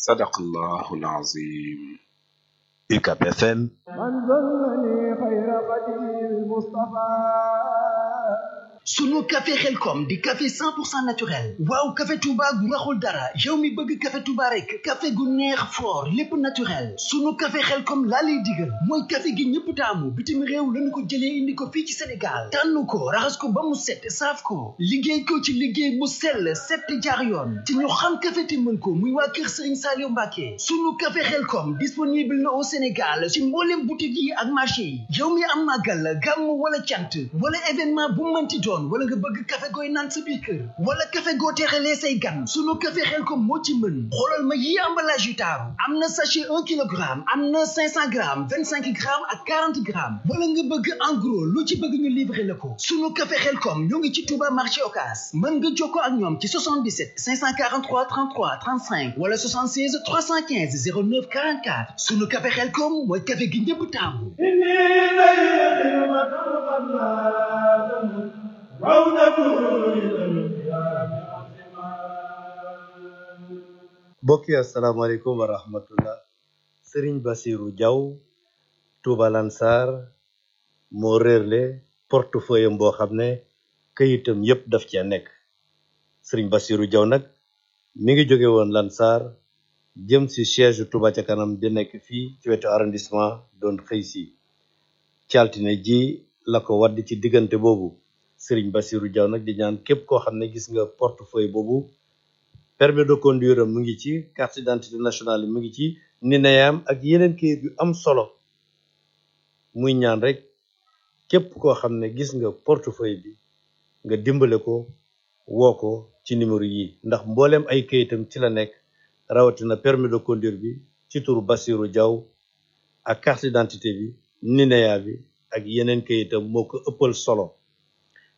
sadaqallahul azim. UCAB FM. sunu café xelkom di café 100% naturel waaw café Touba gu raxul dara yow mi bëgg café Touba rek café gu neex fort lépp naturel sunu café xelkom laa lay digal mooy café gi ñëpp taamu bitim réew lañu ko jëlee indi ko fii ci Sénégal tànn ko raxas ko ba mu set saaf ko liggéey ko ci liggéey bu sell set jaar yoon te ñu xam café te mën ko muy waa kër Serigne Saliou Mbacké sunu café xelkom disponible na au Sénégal ci mboolem boutique yi ak marché yi yow mi am màggal gàmm wala cant wala événement bu mënti doon wala nga bëgg café gooy naan sa biir kër wala café goo teexalee say gan sunu café xelkom moo ci mën xoolal ma yi emballage yu taaru am na sachet 1 kilogramme am na 500 grammes 25 grammes ak 40 grammes wala nga bëgg en gros lu ci bëgg ñu livrer la ko sunu café xelkom ñoo ngi ci Touba marché Ocass mën nga jokkoo ak ñoom ci 77 543 33 35 wala 76 315 09 44 sunu café xelkom mooy café gi ñëpp taamu mbokk yi asalaamaaleykum wa rahmatullah Serigne Bassirou Diaw Touba Lansar moo réerle portefeuille boo xam ne këyitam yépp daf cee nekk Serigne Bassirou Diaw nag mi ngi jóge woon Lansar jëm ci siège Touba ca kanam di nekk fii ci wetu arrondissement doon xëy si ci altine ji la ko wadd ci diggante boobu Serigne Bassirou Diaw nag di ñaan képp koo xam ne gis nga portefeuille boobu permis de conduire mu ngi ci carte d'identité nationale mu ngi ci nineyam ak yeneen kayit yu am solo muy ñaan rek képp koo xam ne gis nga portefeuille bi nga dimbale ko woo ko ci numéro yi ndax mbooleem ay kayitam ci la nekk rawatina permis de conduire bi ci turu Bassirou Diaw ak carte d'identité bi nineya bi ak yeneen kayitam moo ko ëppal solo